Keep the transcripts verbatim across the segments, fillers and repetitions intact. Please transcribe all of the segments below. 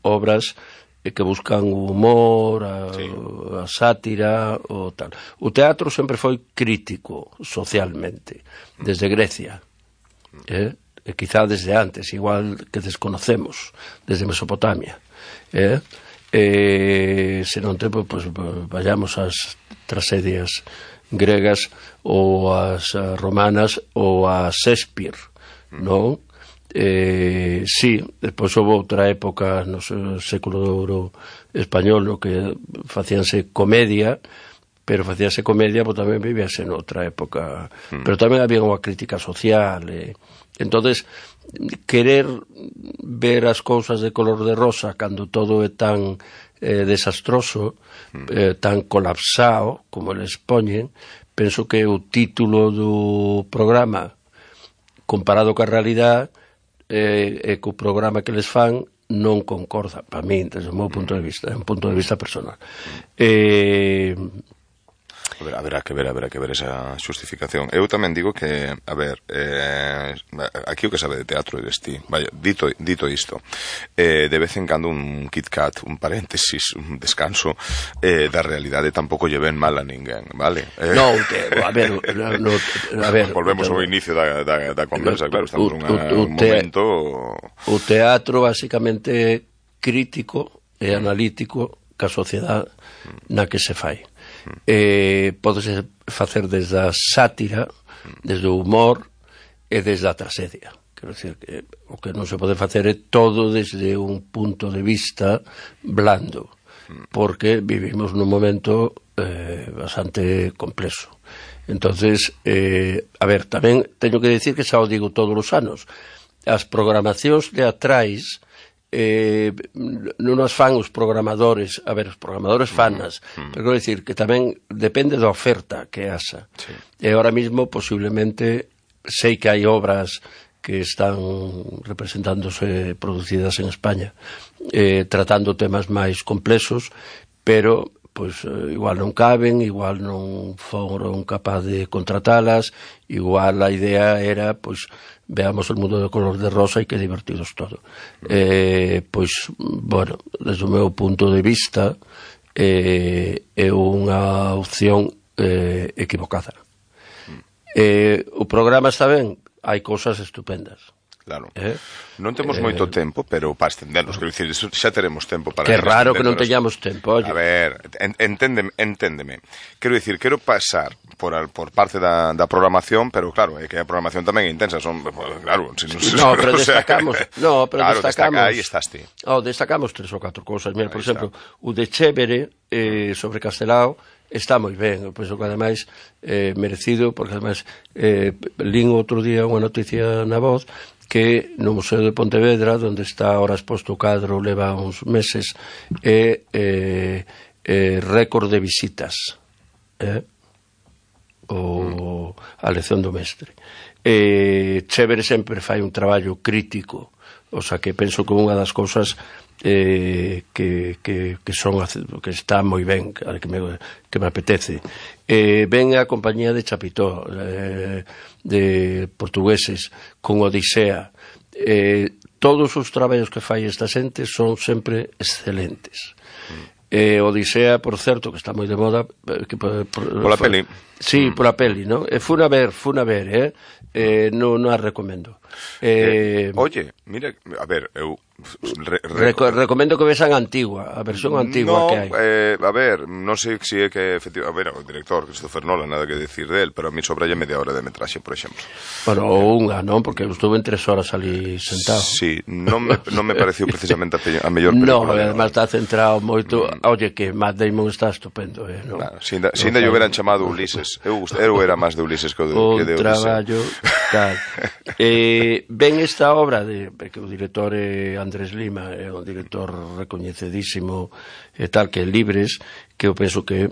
obras que buscan o humor, a, sí. a sátira, o tal. O teatro sempre foi crítico socialmente, desde Grecia, eh? e quizá desde antes, igual que desconocemos, desde Mesopotamia. Eh? Eh, se non tempo, pues, vayamos ás tragedias gregas ou as romanas ou a Shakespeare, non? Eh, sí, despois houve outra época no século de ouro español no que facíanse comedia, pero facíanse comedia, pero tamén vivíase noutra época, mm. pero tamén había unha crítica social, eh. entonces querer ver as cousas de color de rosa cando todo é tan eh, desastroso, mm. eh, tan colapsado como les poñen, penso que o título do programa comparado ca realidade e eh, co programa que les fan non concorda, para mí, desde o meu punto de vista, é un punto de vista personal. Eh... A ver, haberá que ver, haberá que ver esa xustificación. Eu tamén digo que, a ver, eh, aquí o que sabe de teatro eres ti. Vaya, dito, dito isto, eh, de vez en cando un Kit Kat, un paréntesis, un descanso eh, da realidade tampouco lle ven mal a ninguén, vale? Eh, no, te, a ver, no, a ver, volvemos ao inicio da, da, da conversa, claro, estamos en un momento... O teatro, basicamente, crítico e analítico ca sociedade na que se fai. Eh, podese facer desde a sátira, desde o humor e desde a tragedia. Quero dicir que o que non se pode facer é todo desde un punto de vista blando, porque vivimos nun momento eh, bastante complexo. Entonces, eh, a ver, tamén teño que dicir que xa o digo todos os anos, as programacións teatrais Eh, non as fan os programadores, a ver, os programadores fanas, mm, mm. pero quero dicir que tamén depende da oferta que haxa. Sí. E ahora mismo, posiblemente, sei que hai obras que están representándose, producidas en España, eh, tratando temas máis complexos, pero pois igual non caben, igual non foron capaz de contratalas, igual a idea era, pois, veamos o mundo de color de rosa e que divertidos todo. Eh, pois, bueno, desde o meu punto de vista, eh, é unha opción eh, equivocada. Eh, o programa está ben, hai cousas estupendas. Claro. Eh? Non temos eh, moito tempo, pero para estendernos, quero dicir, xa teremos tempo para... Que raro que non teñamos tempo, oye. A ver, enténdeme, enténdeme. Quero dicir, quero pasar por, al, por parte da, da programación, pero claro, é que a programación tamén é intensa, son, claro... Si non, no, pero destacamos... O sea, no, pero claro, destacamos... Destaca, aí estás ti. Oh, destacamos tres ou catro cousas. Mira, por exemplo, o de Chévere, eh, sobre Castelao, está moi ben, eu penso que ademais eh, merecido, porque ademais eh, lín outro día unha noticia na Voz que no Museo de Pontevedra, onde está ahora exposto o cadro, leva uns meses, é eh, eh, récord de visitas, eh? o a lección do mestre. Eh, Chévere sempre fai un traballo crítico, o sea que penso que unha das cousas eh, que, que, que son que está moi ben, que me, que me apetece. Eh, ven a compañía de Chapitó, eh, de portugueses, con Odisea. Eh, todos os traballos que fai esta xente son sempre excelentes. Eh, Odisea, por certo, que está moi de moda, que, por, por, pola for, peli. Sí, mm. pola peli, ¿no? E fun a ver, fun a ver, eh? eh non no a recomendo. Eh, eh, oye, mira, a ver, eu re, re, Reco recomendo que vexan a antigua, a versión antigua no, que hai. Eh, a ver, non sei se é que efectivamente, a ver, o director Christopher Nolan, nada que decir del, pero a mí sobralle media hora de metraxe, por exemplo. Bueno, ou unha, non? Porque eu estuve en tres horas ali sentado. Sí, non me, non me pareceu precisamente a, a mellor película. No, además está centrado moito, mm. oye, que Matt Damon está estupendo, eh, non? Claro, se ainda, no, ainda lle hubieran chamado Ulises, eu, eu era máis de Ulises que o de, o que de Ulises. Traballo, tal. eh, ven esta obra de, que o director é Andrés Lima, é un director recoñecidísimo e tal, que é Libres, que eu penso que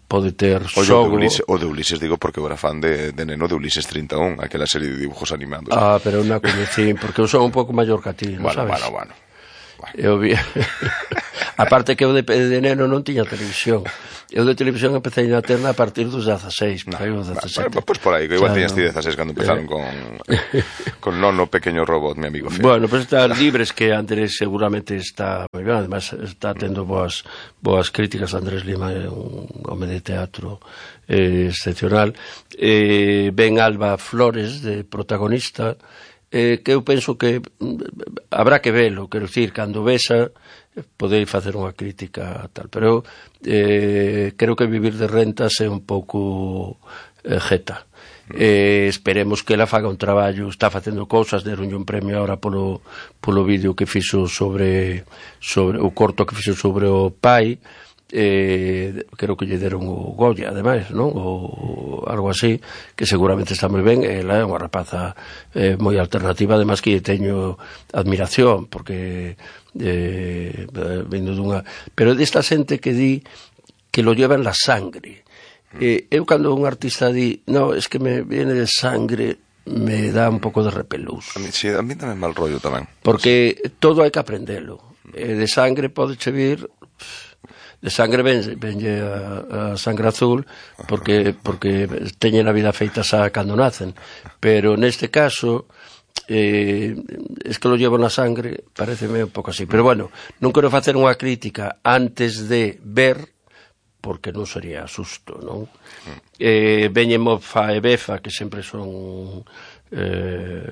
pode ter xogo. O de Ulises, o de Ulises digo porque eu era fan de, de neno de Ulises treinta e un, aquela serie de dibujos animados. Ah, pero non a coñecín, porque eu son un pouco maior que a ti, non bueno, sabes? Bueno, bueno, bueno. Eu vi... Aparte que eu de, de neno non tiña televisión. Eu de televisión empecé a terna a partir dos dezaseis. No, dezasete. Bueno, pues por aí, que igual claro. Tiñas ti dezaseis cando empezaron eh. con con Nono Pequeño Robot, mi amigo Fede. Bueno, pues está Libres, que Andrés seguramente está moi ben, además está tendo boas boas críticas. Andrés Lima é un home de teatro eh, excepcional. Eh, ben Alba Flores, de protagonista, eh, que eu penso que habrá que velo, quero dicir, cando vesa podei facer unha crítica tal, pero eh, creo que Vivir de rentas é un pouco eh, jeta. Eh, esperemos que ela faga un traballo, está facendo cousas, deronlle un premio ahora polo, polo vídeo que fixo sobre, sobre o corto que fixo sobre o pai. Eh, creo que lle deron o Goya, ademais, non? O algo así, que seguramente está moi ben. Ela é unha rapaza eh, moi alternativa, ademais que teño admiración, porque eh, vindo dunha... Pero desta xente que di que lo lleva en la sangre. Eh, eu cando un artista di, no, es que me viene de sangre, me dá un pouco de repelús. A mí, sí, a mí tamén mal rollo tamén. Porque sí. Todo hai que aprendelo. Eh, de sangre pode che vir... De sangre ven, venlle a, a sangre azul porque porque teñen a vida feita xa cando nacen, pero neste caso eh, es que lo llevo na sangre, pareceme un pouco así, pero bueno, non quero facer unha crítica antes de ver, porque non sería susto, non? Eh, veñen Mofa e Befa, que sempre son eh,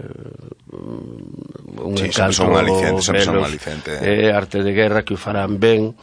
un sí, encanto, son un aliciente, sempre son un aliciente. Eh, arte de guerra, que o farán ben.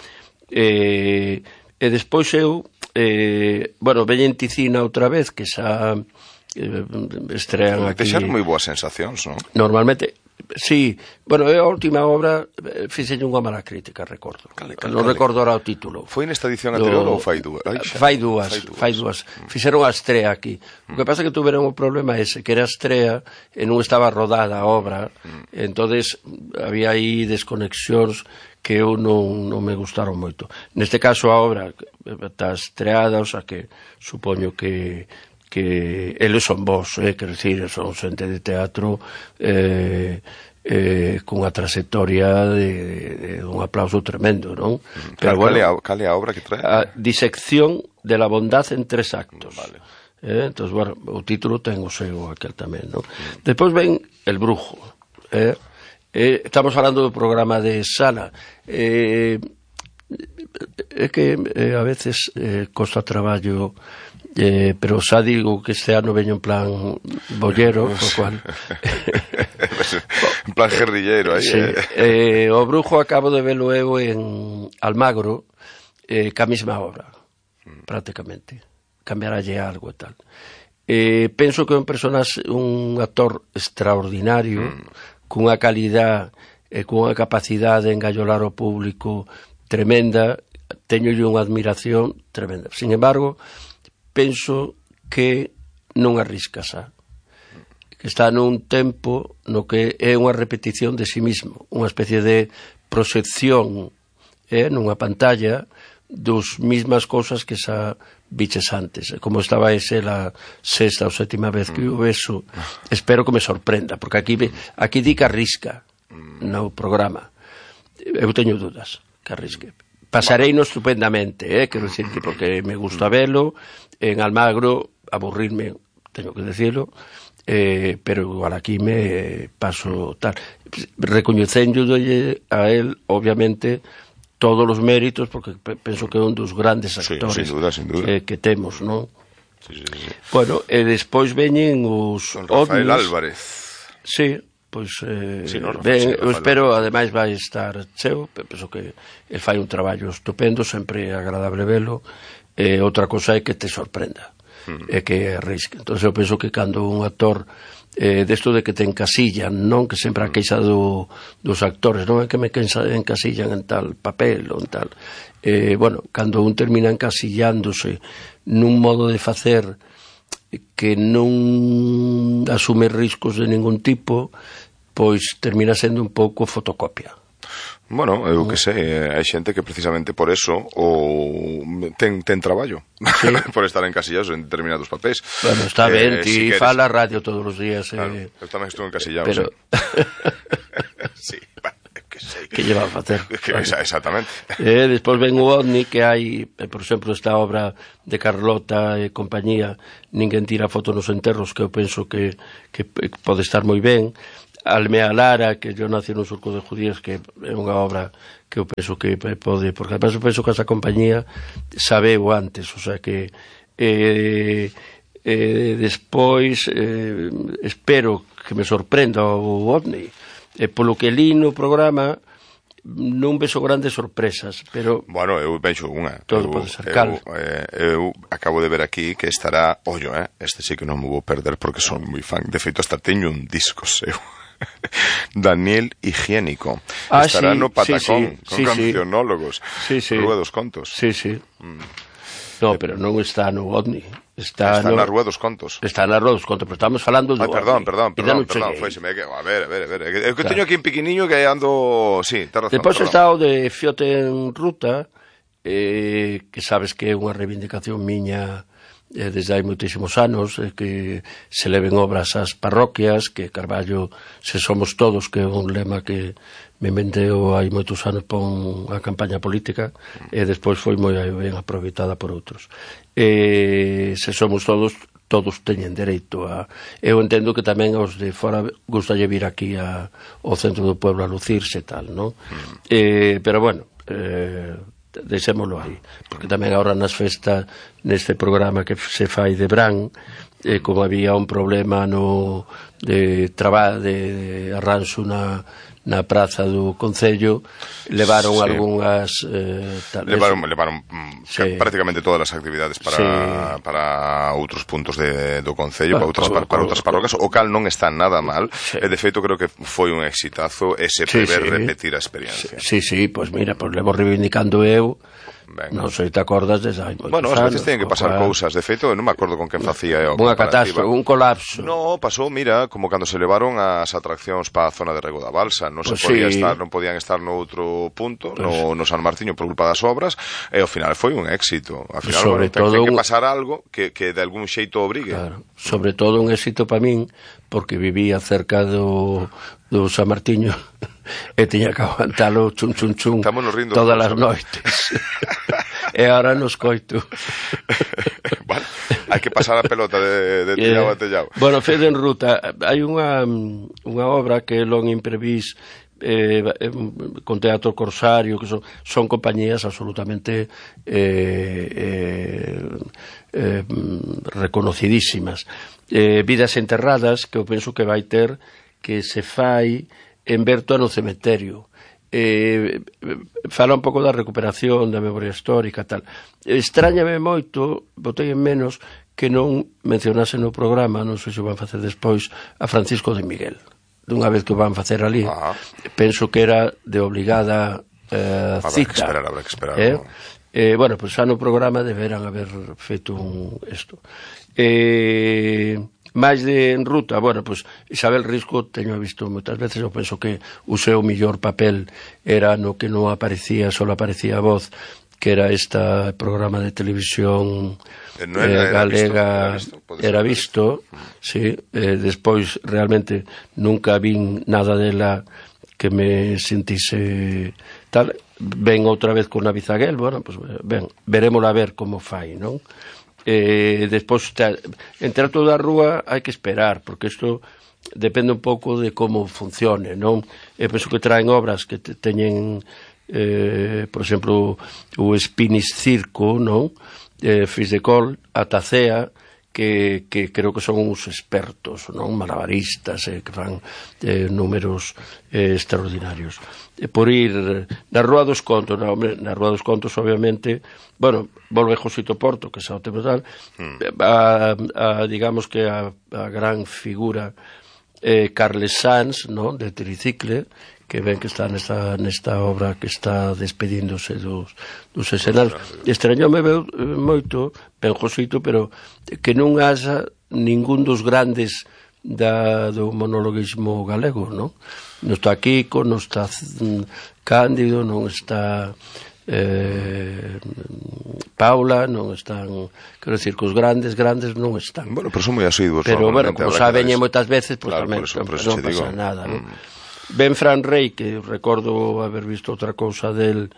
Eh, e despois eu eh, bueno, veñen Ticina outra vez, que xa eh, estrean aquí. Deixaron moi boas sensacións, non? Normalmente, sí. Bueno, eu a última obra eh, fixenlle unha mala crítica, recordo. Cale, cale, non cale. Recordo ahora o título. Foi nesta edición anterior ou fai dúas? Ai, fai dúas, fai dúas. Fai dúas. Mm. Fixeron a estrea aquí. Mm. O que pasa é que tuveron o problema ese, que era a estrea e non estaba rodada a obra, mm. entonces había aí desconexións que eu non, non me gustaron moito. Neste caso a obra está estreada, o sea que supoño que que eles son vos, eh, quero dicir, son xente de teatro eh, eh, cunha trayectoria de, de, de un aplauso tremendo, non? Pero bueno, cal é a obra que trae? A disección de la bondad en tres actos. Vale. Eh, entón, bueno, o título ten o seu aquel tamén, non? Mm. Despois ven El Brujo, eh? Eh, estamos falando do programa de Sala. Eh, é que eh, a veces eh, costa traballo, eh, pero xa digo que este ano veño en plan bollero, o cual en plan guerrilleiro aí. Sí. Eh. Eh, o Brujo acabo de velo eu en Almagro, eh, ca mesma obra, mm. prácticamente. Cambiaralle algo e tal. Eh, penso que é un personaxe, un actor extraordinario, mm. cunha calidad e cunha capacidade de engallolar o público tremenda. Teñolle unha admiración tremenda. Sin embargo, penso que non arrisca xa, que está nun tempo no que é unha repetición de sí mismo, unha especie de proxección eh, nunha pantalla dos mismas cousas que xa biches antes. Como estaba ese la sexta ou sétima vez que o beso, espero que me sorprenda, porque aquí aquí di que arrisca no programa. Eu teño dudas que arrisque. Pasarei no estupendamente, eh, quero dicir, porque me gusta velo. En Almagro aburrirme, teño que decirlo, eh, pero igual aquí me paso tal. Recoñecéndolle a él, obviamente, todos os méritos, porque penso que é un dos grandes actores, sí, sin duda, sin duda. Eh, que temos, non? Sí, sí, sí. Bueno, e despois veñen os Rafael ovnis. Álvarez. Sí, pois eh, sí, no, ben, sí, eu espero, ademais vai estar cheo, penso que el fai un traballo estupendo, sempre é agradable velo. Eh, outra cosa é que te sorprenda, uh-huh. é que arrisque. Entón eu penso que cando un actor eh, desto de que te encasillan, non? Que sempre a queixa do, dos actores, non é que me encasillan en tal papel ou en tal. Eh, bueno, cando un termina encasillándose nun modo de facer que non asume riscos de ningún tipo, pois termina sendo un pouco fotocopia. Bueno, eu que sei, hai xente que precisamente por eso ou ten, ten traballo, sí. Por estar encasillados en determinados papéis. Bueno, está ben, eh, ti si fala radio todos os días. Claro, eh, eu tamén estou encasillado. Pero... Sí, sí. que sei. Que lle va a facer. Que, exactamente. E despois ven o OVNI, que hai, por exemplo, esta obra de Carlota e compañía, Ninguén tira foto nos enterros, que eu penso que, que pode estar moi ben. Almea Lara, que yo nací nun surco de judías, que é unha obra que eu penso que pode, porque además eu penso que esa compañía sabeu antes, o sea que eh, eh, despois eh, espero que me sorprenda o OVNI, e polo que li no programa non vexo grandes sorpresas, pero bueno, eu vexo unha. Todo eu, pode ser cal. Eu, eh, eu acabo de ver aquí que estará, ollo, eh, este sí que non me vou perder porque son moi fan. De feito, hasta teño un disco seu. Daniel Higiénico. Ah, estará sí, no Patacón, sí, sí, con sí, cancionólogos. Sí, sí. Rúa dos Contos. Sí, sí. Mm. No, pero non está no OVNI. Está, está no, na Rúa dos Contos. Está na Rúa dos Contos, pero estamos falando do Ay, perdón, OVNI. perdón, perdón, no perdón, foi, me, a ver, a ver, a ver. Eu que claro. Teño aquí un pequeniño que ando, sí, te razón. Depois está o de Fiote en Ruta, eh, que sabes que é unha reivindicación miña eh, desde hai moitísimos anos, eh, que se leven obras ás parroquias, que Carballo, se somos todos, que é un lema que me inventeu hai moitos anos pon a campaña política, e despois foi moi ben aproveitada por outros. E se somos todos, todos teñen dereito a... Eu entendo que tamén aos de fora gustalle vir aquí a, ao centro do pueblo a lucirse e tal, non? Mm. Eh, pero bueno, eh, deixémolo aí, porque tamén agora nas festas, neste programa que se fai de Bran, eh, como había un problema no de traballo de, de arranxo na na praza do Concello, levaron sí. algunhas eh, tal levaron, levaron sí. prácticamente todas as actividades para, sí. para outros puntos de, do Concello, para outras, para, para outras parroquias, o cal non está nada mal, sí. e de feito creo que foi un exitazo ese prever sí, sí. repetir a experiencia. Sí, sí, pois pues mira, pois pues levo reivindicando eu. Venga. Non sei, te acordas desde hai moitos bueno, anos. Bueno, as veces teñen que pasar cual... cousas. De feito, non me acordo con quen facía a unha catástrofe, un colapso. No, pasou, mira, como cando se levaron as atraccións para a zona de Rego da Balsa. Non pues se podía sí. estar, non podían estar no outro punto, pues... no, no San Martiño por culpa das obras, e ao final foi un éxito. Ao final, sobre bueno, todo... ten que pasar algo que, que de algún xeito obrigue. Claro. Sobre todo un éxito para min, porque vivía cerca do, do San Martiño e tiña que aguantalo chun chun chun todas as noites. E agora nos coito. Vale, hai que pasar a pelota de, de tellao a tellao. Bueno, Fede en Ruta, hai unha, unha obra que é Long Imprevis, eh, con Teatro Corsario, que son, son compañías absolutamente eh, eh, eh, reconocidísimas. Eh, Vidas Enterradas, que eu penso que vai ter, que se fai en Berto no Cementerio. Eh, fala un pouco da recuperación da memoria histórica e tal. Extrañame moito, botei en menos, que non mencionase no programa, non sei se o van facer despois, a Francisco de Miguel. Dunha vez que o van facer ali, ah. penso que era de obligada eh, habrá cita. Que esperar, habrá que esperar. Eh? Eh, bueno, pois pues, xa no programa deberán haber feito un isto. Eh... máis de en Ruta, bueno, pois Isabel Risco teño visto moitas veces, eu penso que o seu mellor papel era no que non aparecía, só aparecía a voz, que era este programa de televisión eh, no era, eh, galega, era visto, era visto, sí, eh, despois realmente nunca vin nada dela que me sentise tal. Ven outra vez con Navizaguel, bueno, pois ben, verémola a ver como fai, non? Eh, despois en Teatro da Rúa hai que esperar, porque isto depende un pouco de como funcione, non? Eu penso que traen obras que te, teñen eh, por exemplo o Spinis Circo, non? Eh, Fis de Col, a Tacea, que, que creo que son uns expertos, non? Malabaristas, eh, que fan eh, números eh, extraordinarios. E por ir na Rúa dos Contos, na, na Rúa dos Contos, obviamente, bueno, volve Josito Porto, que xa o temos tal, mm. a, a, digamos que a, a gran figura eh, Carles Sanz, non? De Tricicle, que ven que está nesta, nesta obra que está despedíndose dos, dos escenarios. Extrañoume moito, ben Josito, pero que non haxa ningún dos grandes da, do monologuismo galego, non? Non está Kiko, non está Cándido, non está eh, Paula, non están, quero decir, que os grandes, grandes non están. Bueno, pero son moi asiduos. Pero, bueno, como saben moitas veces, pues, claro, tamén, por eso, por eso non pasa digo. nada, non? Mm. Ben Fran Rey, que recordo haber visto outra cousa del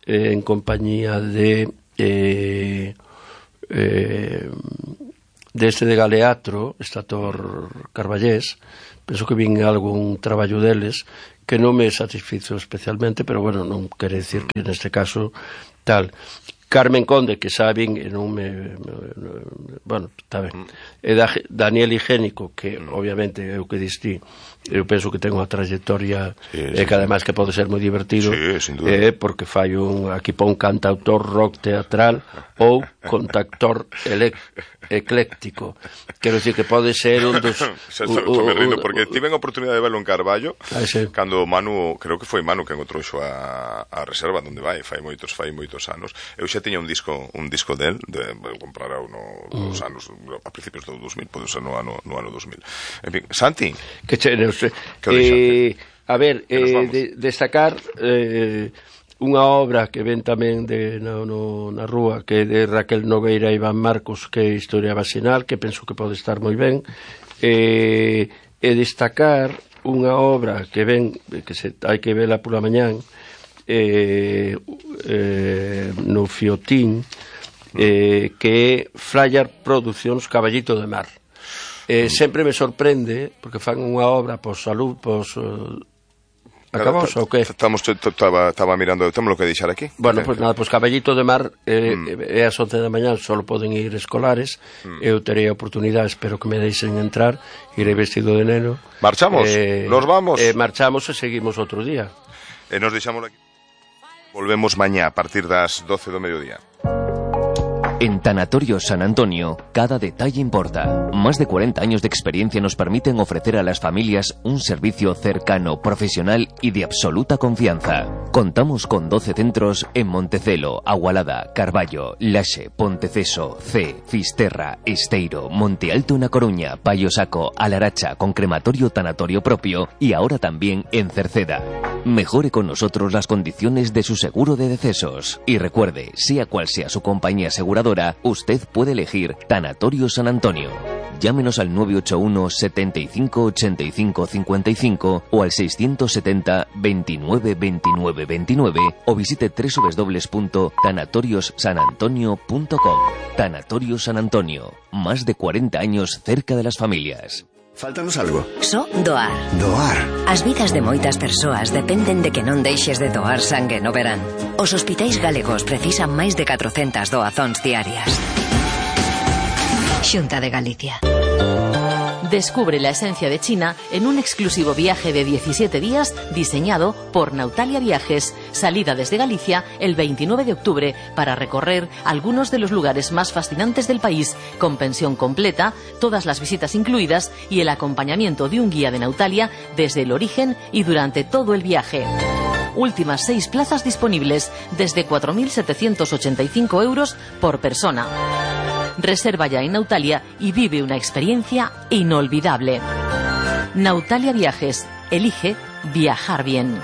eh, en compañía de eh, eh, deste de Galeatro, este actor carballés, penso que vin algún traballo deles que non me satisfizo especialmente, pero bueno, non quere decir que neste caso tal. Carmen Conde, que saben, e non me, me, me bueno, está ben. E da, Daniel Higiénico, que obviamente é o que distí, eu penso que ten unha trayectoria sí, sí, e que ademais que pode ser moi divertido, sí, sin duda. Eh, porque fai un, aquí pon cantautor rock teatral ou contactor elec, ecléctico. Quero dicir que pode ser un dos... Xa estou me rindo, porque tive a oportunidade de verlo en Carballo, ah, sí. cando Manu, creo que foi Manu que encontrou a, a reserva donde vai, fai moitos, fai moitos anos. Eu xa tiña un disco un disco del, de, de comprar no, nos mm. anos, a principios do dos mil, pode ser no ano, no ano dos mil. En fin, Santi, que che, no sé, eh, a ver, eh, de, destacar eh, unha obra que ven tamén de, no, no, na rúa, que é de Raquel Nogueira e Iván Marcos, que é Historia Vacinal, que penso que pode estar moi ben, eh, e destacar unha obra que ven, que se, hai que vela pola mañán, eh, eh, no Fiotín, eh, que é Flyer Produccións Caballito de Mar. Eh, sempre me sorprende, porque fan unha obra pos salud, pos... Uh, acabamos ou que? Estamos, estaba mirando, temos lo que deixar aquí. Bueno, pois pues nada, pois pues Caballito de Mar eh, mm. é as once da mañá, só poden ir escolares, mm. eu terei a oportunidade, espero que me deixen entrar, irei vestido de neno. Marchamos, eh, nos vamos. Eh, marchamos e seguimos outro día. E nos deixamos aquí. Volvemos mañá a partir das doce do mediodía. En Tanatorios San Antonio, cada detalle importa. Más de cuarenta años de experiencia nos permiten ofrecer a las familias un servicio cercano, profesional y de absoluta confianza. Contamos con doce centros en Montecelo, Agualada, Carballo, Laxe, Ponteceso, C, Fisterra, Esteiro, Monte Alto na Coruña, Paio Saco, Alaracha, con crematorio tanatorio propio y ahora también en Cerceda. Mejore con nosotros las condiciones de su seguro de decesos. Y recuerde, sea cual sea su compañía aseguradora, usted puede elegir Tanatorio San Antonio. Llámenos al nueve ocho uno, setenta y cinco, ochenta y cinco, cincuenta y cinco o al seiscientos setenta, veintinueve, veintinueve, veintinueve o visite doble u doble u doble u punto tanatorios san antonio punto com. Tanatorio San Antonio, más de cuarenta años cerca de las familias. Fáltanos algo. Só doar. Doar. As vidas de moitas persoas dependen de que non deixes de doar sangue no verán. Os hospitais galegos precisan máis de catrocentas doazóns diarias. Xunta de Galicia. Descubre la esencia de China en un exclusivo viaje de diecisiete días diseñado por Nautalia Viajes. Salida desde Galicia el veintinueve de octubre para recorrer algunos de los lugares más fascinantes del país, con pensión completa, todas las visitas incluidas y el acompañamiento de un guía de Nautalia desde el origen y durante todo el viaje. Últimas seis plazas disponibles desde cuatro mil setecientos ochenta y cinco euros por persona. Reserva ya en Nautalia y vive una experiencia inolvidable. Nautalia Viajes. Elige viajar bien.